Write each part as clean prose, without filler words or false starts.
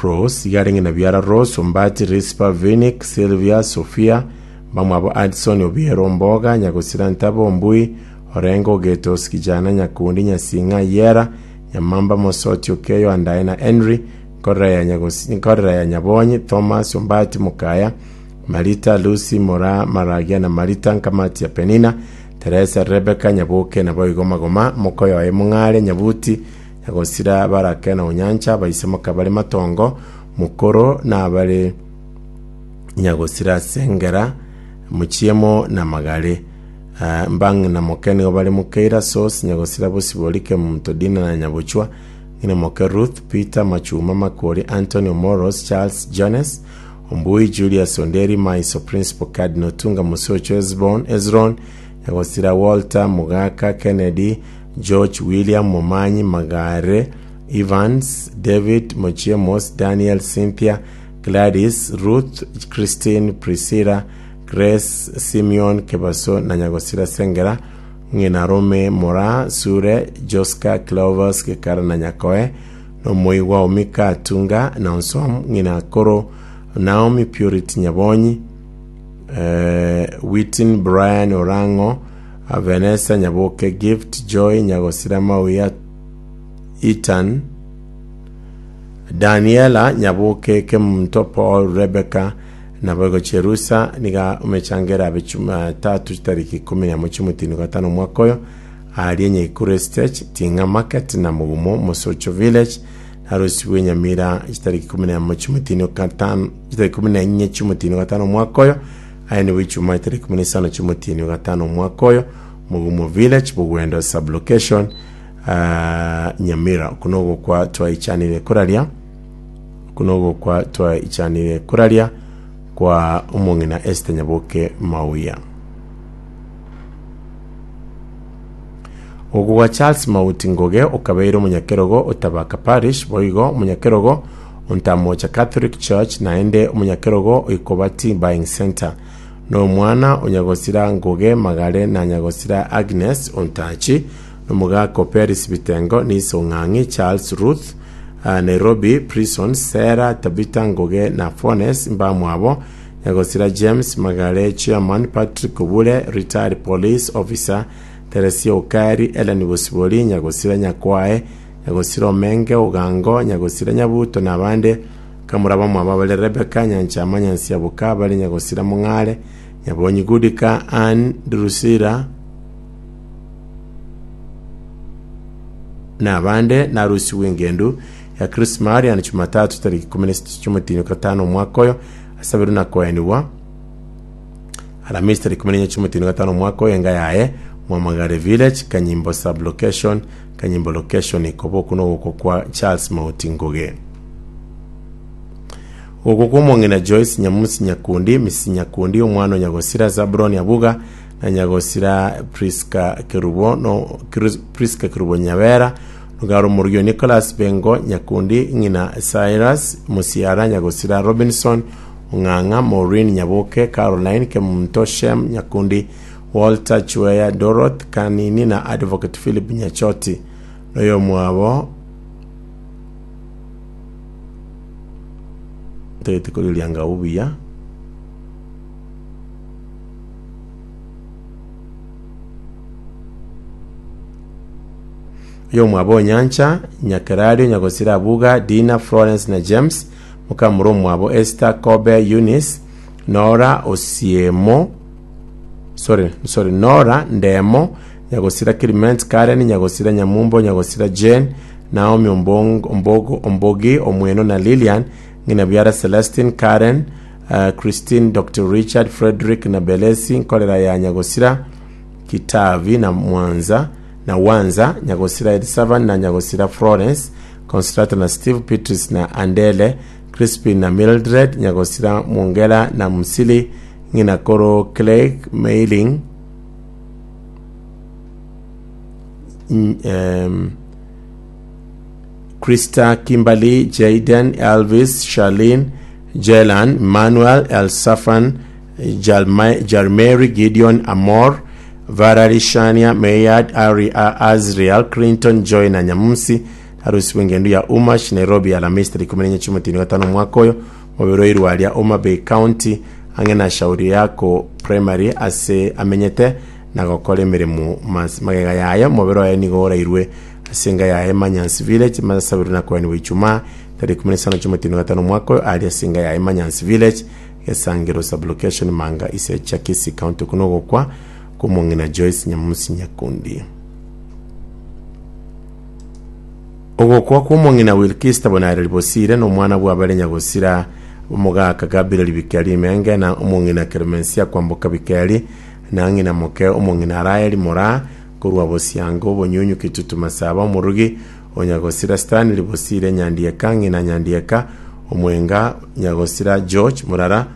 Rose, iga arenge na biara Rose, Ombati, Rispa, Vinic, Sylvia, Sophia, mbamwabo Addison, Obiero, Omboga, Nyagosira, Ntabo, Ombui, Orengo, Ogeto, Osikijana, Nyakundi, Nyasing'a, Yera, Nyamamba, Mosoti, Okeyo, Andae na Henry, Nkorera ya Nyagosi, Nkorera ya Nyabonyi, Thomas, Ombati, Mokaya, Marita, Lucy, Moraa, Maragia na Marita, Nkamati ya Penina, Teresa, Rebecca, Nyaboke, naboigo Magoma, mokoyoye Mong'are, Nyabuti, Nyagosira, Barake na Onyancha, abaise mokabare Matongo, Mokoro, na abare Nyagosira Sengera, Mochiemo na Magare. Ah, Mbang'ina moke nigo bare Mokeira, Sos, Nyagosira, Bosibori, Kemunto, Dina na Nyabochwa, Ng'ina moke Ruth, Peter, Machuma, Makori, Anthony, Omoros, Charles, Jones, Ombui, Julius, Onderi, Maiso, Principal, Cardinal, Tunga, Mosocho, Esbon, Ezron, Nyagosira, Walter, Mogaka, Kennedy, George, William, Momanyi, Magare, Evans, David, Mochiemos, Daniel, Cynthia, Gladys, Ruth, Christine, Priscilla, Grace, Simeon, Kebaso na Nyagosira Sengera, ng'ina Rome, Moraa, Sure, Joska, Cleophas, Gekara na Nyakoe, nomoigwa o Mika, Tunga, na Onsom, ng'ina Koro, Naomi, Purity, Nyabonyi, eh, Witin, Brian, Orang'o, Vanessa, Nyaboke, Gift, Joy, Nyagosira, Mauya, Ethan, Daniela, Nyaboke, Kemunto, Paul, Rebecca, Naboigo Cherusa nigo omechango erabe Chumatatu chitariki ikomi nemo chi'omotini gatano omwaka oyo, aaria Nyaikuru Estage, Ting'a Market na Mugumo Mosocho Village, narosibwe Nyamira chitariki ikomi nemo chi'omotini gatano chitariki ikomi na inye chi'omotini gatano omwaka oyo, aye nigo Ijumaa chitariki ikomi na isano chi'omotini gatano omwaka oyo, Mugumo Village, Bogwendo Sub-location, ah, Nyamira. Oko nogokwa twaichanire koraria. Okwo nogokwa twaichanire koraria kwa omong'ina Esther Nyaboke Mauya. Ogokwa gwa Charles Mauti Ngoge okabeire omonyakerogo o Tabaka Parish boigo omonyakerogo o Ntamocha Catholic Church naende omonyakerogo o Ikobati Buying Centre. Nomwana o Nyagosira Ngoge Magare na Nyagosira Agnes Ontachi nomogaka o Peris Bitengo Nise Ong'ang'i Charles Ruth Nairobi Prison, Sarah, Tabitha Ngoge na Fones mbamwabo, Nyagosira James Magare, Chairman Patrick Obure, Retired Police Officer Teresia Okari, Ellen Bosibori, Nyagosira Nyakwae, Nyagosira Omenge Ogango, Nyagosira Nyabuto na abande Kamura bamwabo bare Rebecca Nyanchama Nyansiaboka bare Nyagosira Mong'are, Nyabonyi Gudika, Ann Drusilla, na abande narusigwe engendu ya Chris Marian Jumatatu tariki 16 chi'omotienyi gatano omwaka oyo asaberwe na koenigwa Aramisi tariki 14 chi'omotienyi gatano omwaka oyo enga yaye Mwamagare Village Kanyimbo sub location Kanyimbo location koba okwo nogokwa kwa Charles Mauti Ngoge. Ogokwa kwa omong'ina Joyce Nyamusi Nyakundi, Mrs Nyakundi, omwana o Nyagosira Zabuloni Abuga, na Nyagosira Prisca Kerubo, no Prisca Kerubo Nyabera, nogare omorugi o Nicholas Bengo Nyakundi, ng'ina Cyrus Musiara Nyagosira Robinson Ong'ang'a, Maureen Nyaboke, Caroline Kemunto, Shem Nyakundi, Walter Chweya, Doroth Kanini na Advocate Philip Nyachoti. Noyomwabo ntagete korigereria anga buya. Oyomwabo Onyancha, Nyakerario, Nyagosira Abuga, Dina, Florence na James, mokamura omwabo Esther, Kobe, Eunice, Nora, Osiemo, sorry, sorry, Nora, Ndemo, Nyagosira Clement, Karen, Nyagosira Nyamumbo, Nyagosira Jane, Naomi Ombong, Ombogo, Ombogi, Omweno na Lilian, ng'ina biara Celestine, Karen, uh, Christine, Dr. Richard, Frederick na Belesi, nkorera ya Nyagosira, Kitavi na Mwanza, na Wanza, Nyagosira Elisavan na Nyagosira Florence, Consolata na Steve, Beatrice na Andele, Crispin na Mildred, Nyagosira Mwongera na Musili, ng'ina koro Craig Mailing, um, Krista, Kimberly, Jayden, Elvis, Charlene, Jelan, Emmanuel, Elsafan, Jarmary, Gideon, Amor, Valerie, Shania, Mayard, Ari, Azriel, Clinton, Joy na Nyamusi. Arusigwe engendu ya Umash, Nairobi, Alamisi tariki ikomi na enye chi'omotienyi o gatano omwaka oyo, mobere oirwe aria Homa Bay County, ang'e na Shauri Yako Primary ase amenyete na gokora emeremo. Mas magega yaye omobere oye nigo orairwe ase enka yaye Manyans Village, masabirwe na koenigwa Ijumaa tariki ikomi na isano chi'omotienyi o gatano omwaka oyo aria ase enka yaye Manyans Village, Gesangero Sub-location, Manga, Isecha, Kisii County. Okwo nogokwa kw'omong'ina Joyce Nyamusi Nyakundi. Ogokwa kw'omong'ina Wilkista Bonareri Bosire na omwana bw'abare nyagosira omogaka Gabriel Bikeri Rimenge na omong'ina Clemencia Kwamboka Bikeri na ng'ina moke omong'ina Raeli Moraa korwa Bosiango Obonyunyu Kitutu Masaba omorugi o nyagosira Stanley Bosire Nyandieka ng'ina Nyandieka Omwenga nyagosira George Murara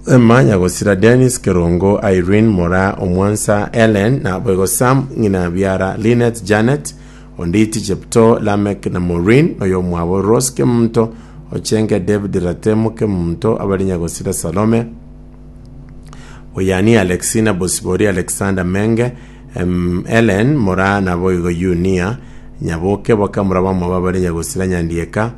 Emma nyagosira Dennis Kerongo Irene Moraa Omwansa Ellen na boigo Sam ng'ina biara Linet Janet Onditi Cheptoo Lameck na Maureen noyomwabo Rose Kemunto Ochenge David Ratemo Kemunto abare nyagosira Salome Oyani Alexina Bosibori Alexander Menge em, Ellen Moraa naboigo Yunia Nyaboke bakamura bamwabo abare nyagosira Nyandieka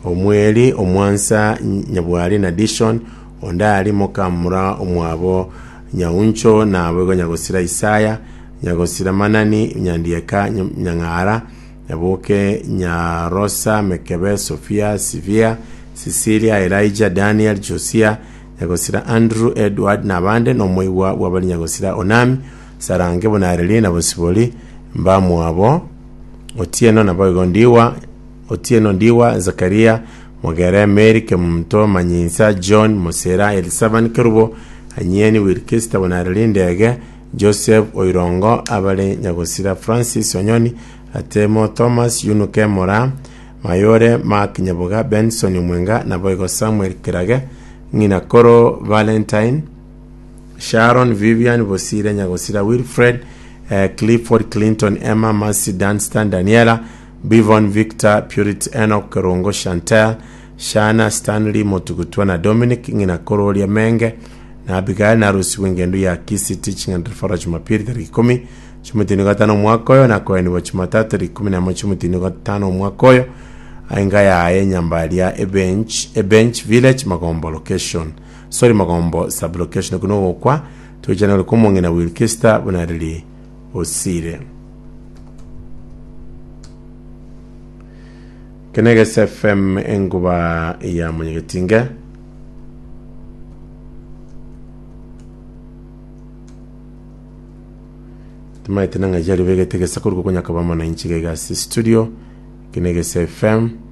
Omweri, omwansa, Nyabwari na Dishon, onde aria mokamura omwabo Nyauncho, naboigo Nyagosira Isaya, Nyagosira Manani, Nyandieka, Nyang'ara, Nyaboke, Nyarosa, Mekebe, Sofia, Sivia, Sisilia, Elijah, Daniel, Josia, Nyagosira Andrew, Edward, na abande, na omoigwa bw'abare Nyagosira Onami, Sarange, Bonareri, na Bosibori, mbamwabo Otieno, naboigo Ndiwa, Otieno Ndiwa, Zakaria, Mogere, Mary, Kemunto, Manyinsa, John, Mosera, Elisaban, Kerubo, Anyieni, Wilkista, Bonareri, Ndege, Joseph, Oirongo, abare Nyagosira, Francis, Onyoni, Atemo, Thomas, Yunuke, Moraa, Mayore, Mark, Nyaboga, Benson, Omwenga, naboigo Samuel Kerage, Ng'ina Koro, Valentine, Sharon, Vivian, Bosire, Nyagosira, Wilfred, eh, Clifford, Clinton, Emma, Mercy, Dunstan, Daniela, Bivon, Victor, Purity, Enoch, Kerongo, Chantel, Shana, Stanley, Motugutwa na Dominic, ng'ina kororia Menge na Abigail narusigwe engendu ya Kisii Teaching and Referral Jumapili tariki ikomi chiomotini gatano omwaka oyo na koenigwa Jumatatu tariki ikomi na emo chiomotini gatano omwaka oyo enga yaye nyambaria ebench ebench village Magombo location sorry Magombo sub location okwo nogokwa toichane ore komong'ina Wilkista buna riri osire. Kenegese FM enguba ya Munyegetinge. Timaete nang'ai jari begete gesa koruko konya kaba mana inchi gaiga ase studio Kenegese FM.